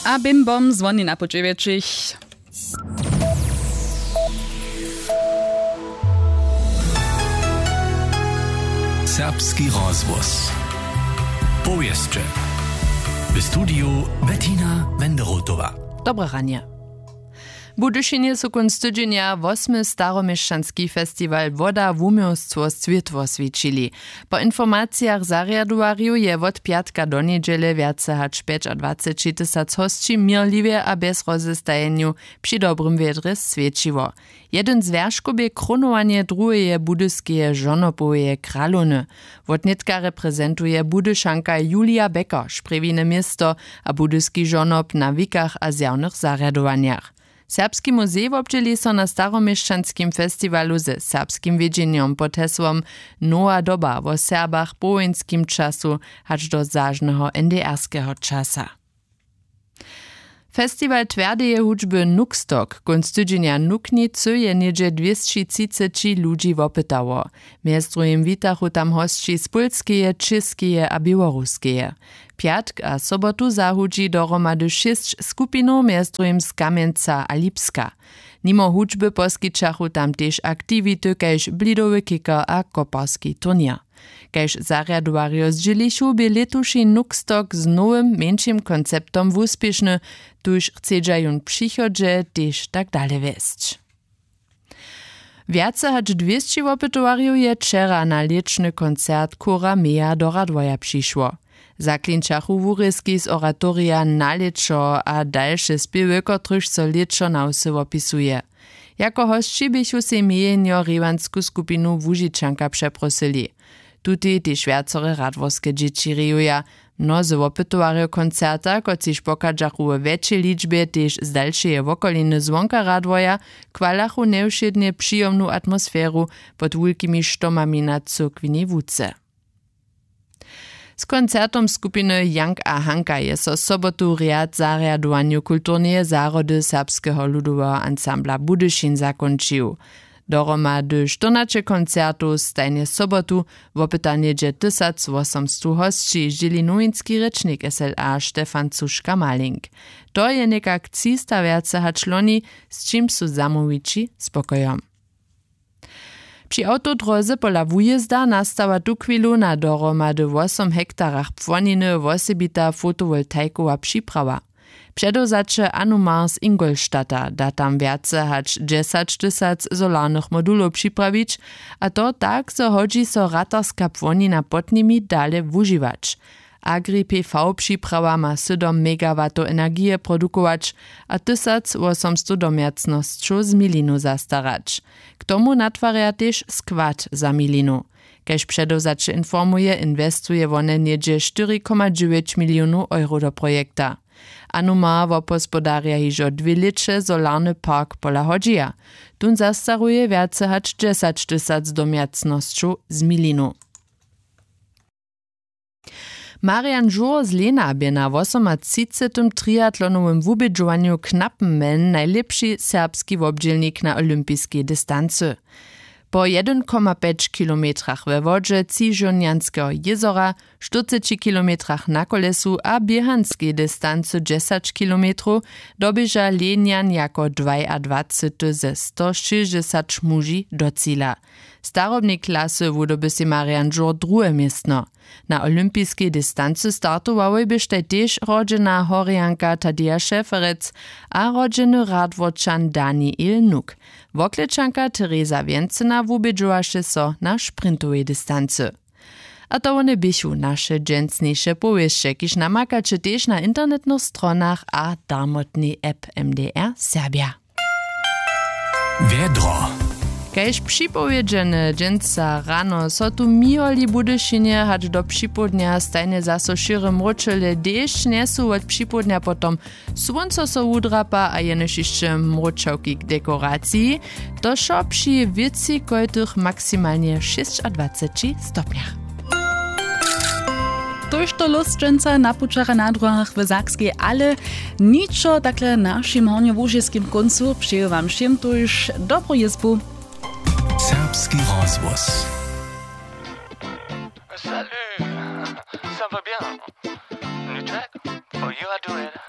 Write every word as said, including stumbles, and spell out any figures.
A bim bom zwoni na puć wječich. Serbski rozhłos. Powěsće. W studiju Bettina Wenderotowa. Dobre ranje. W Budyšinje su kónc tydźenja wosmy staroměšćanski festiwal Woda, wuměłstwo, swětło swjećili. Po informacijach zarjadowarjow je wot pjatka do njedźele wjace hač pjećadwacećitysac hosći měrliwje a bjez rozestajenjow při dobrym wjedrje swjećiło. Jedyn z wjerškow bě krónowanje druheje budyskeje žonopoweje kralowny. Wotnětka reprezentuje Budyšanka Julia Becker šprjewine město a budyski žonop na wikach a zjawnych zarjadowanjach. Serbski muzej wobdźěli so na staroměšćanskim festiwalu ze serbskim wědźenjom pod hesłom Nowa doba wo Serbach po wojinskim času hač do zažneho N D R-skeho časa. Festiwal twjerdeje hudźby Nuxtalk kónc tydźenja w Nuknicy je něhdźe dwěsći třiceći ludźi wopytało. Mjez druhim witachu tam hosći z Pólskeje, Čěskeje a Běłoruskeje. Pjatk a sobotu zahudźi dohromady šěsć skupinow, mjez druhim z Kamjenca a Lipska. Nimo hudźby poskićachu tam tež aktiwity kaž blidowy kicker a koparski turněr. Kaž zarjadowarjo zdźělichu, bě lětuši Nuxtalk z nowym mjeńšim konceptom wuspěšny, tuž chcedźa jón w přichodźe tež tak dale wjesć. Wjace hač dwěsći wopytowarjow je wčera na lěćny koncert chóra Meja do Radworja přišło. Zaklinčachu wurězki z oratorija Na lěćo a dalše spěwy, kotrychž so lěćo na wsy wopisuje. Jako hosći běchu sej Mejenjo rěwansku skupinu Łužičanka přeprosyli. Tutej tež wjacore radworske dźěći rejuja. Mnozy wopytowarjo koncerta, kotřiž pochadźachu we wjetšej ličbje tež z dalšeje wokoliny zwonka Radworja, chwalachu njewšědnje přijomnu atmosferu pod wulkimi štomami na cyrkwinej łuce. Z koncertom skupiny Jank a Hanka je so sobotu rjad zarjadowanju kulturneje zahrody Serbskeho ludoweho ansambla Budyšin zakónčił. Dohromady štyrnaće koncertow stajnje sobotu, wopyta něhdźe tysac wosomstow hosći, zdźěli nowinski rěčnik S L A Stefan Cuška-Malink. To je někak třista wjace hač loni, z čim su zamołwići spokojom. Při awtodróze pola wujězda nastawa tuchwilu na dohromady wosom hektarach płoniny wosebita fotowoltajkowa připrawa. Předewzaće Anumar z Ingolstadta da tam wjace hač dźesać tysac solarnych modulow připrawić, a to tak, zo hodźi so ratarska płonina pod nimi dale wužiwać. Agri P V připrawa ma sydom megawatow energije produkować a tysac wosomstow domjacnosćow z milinu zastarać. K tomu natwarja tež skład za milinu. Kaž předewzaće informuje, inwestuje wone něhdźe štyri koma dźewjeć milionow euro do projekta. Anuma wobhospodarja hižo dwě lěće solarny park pola hodźija. Tón zastaruje wjace hač dźesać tysac domjacnosćow z milinu. Marian Žur z Lena bě na wosomatřicetym triatlonowym wubědźowanju Knappenmenn najlěpši serbski wobdźělnik na olympiskej distancy. Po jedyn koma pjeć kilometrach we wodźe Třižurnjantskeho jězora, štyrceći kilometrach na kolesu a běhanskej distancy dźesać kilometrow doběža Lenjan jako dwajadwacety ze sto šěsćdźesać muži do cila. W starobnej klasy wudoby sej Marian Žur druhe městno. Na olympiskej distancy startowałoj běštej tež rodźena Horjanka Tadeja Šeferec a rodźeny Radworčan Daniel Nuk. Woklečanka Tereza Wjencyna wubědźowaše so na sprintowej distancy. A to wone běchu naše dźensniše powěsće, kiž namakaće tež na internetnych stronach a darmotnej app M D R Serbja. Wjedro. Kaž připowědźene, dźensa rano so tu miholi w Budyšinje hač do připołdnja stajnje zaso šěry mróčele, dešć njesu wot připołdnja potom słónco so wudrapa a jenož hišće mróčawki k dekoraciji. To wšo při wětři kojtych maksimalnje šěsćadwaceći stopnjach. Tójšto lósćenca na pućach a na druhach w Sakskej, ale ničo takle w našim hornjołužiskim kóncu. Přeju wam wšěm tuž dobru jězbu. Serbski rozhłos. Salut, ça va bien? Ničak? Oh, you are doing?